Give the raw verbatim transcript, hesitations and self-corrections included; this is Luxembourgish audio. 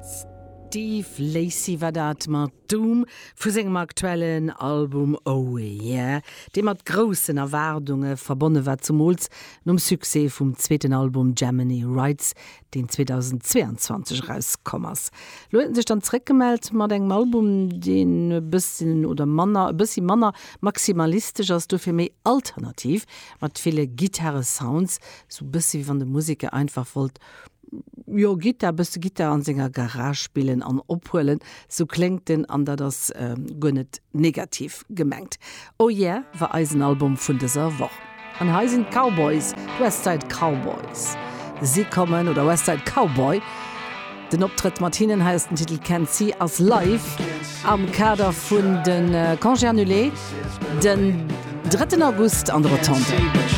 Steve Lacy war dat mat Doom vu sengem aktuellen Album Oh Yeah, dee mat groussen Erwaardunge verbonne war, zemools nom Succès vum zweeten Album Gemini Rights, deen zweedausendzweeanzwanzeg erauskomm ass. Lo huet en sech dann zeréckgemellt mat engem Album, deen e bësschen oder manner, e bëssi manner maximalistesch ass, dofir méi alternativ, mat ville Gittare-Sounds, sou bëssi wéi wann de Museker einfach wollt jo Gittar, bësse Gittar an senger Garage spillen an ophuelen, sou kléngt en an dat ass guer net negativ gemengt. Oh Yeah war eisen Album vun dëser Woch. An hei sinn d'Cowboys, d'Westside Cowboys. Si kommen, oder Westside Cowboy, den Optrëtt mat hinnen, hei ass den Titel Can't See, ass live am Kader vun de Congés annulés den drëtten August an der Rotonde.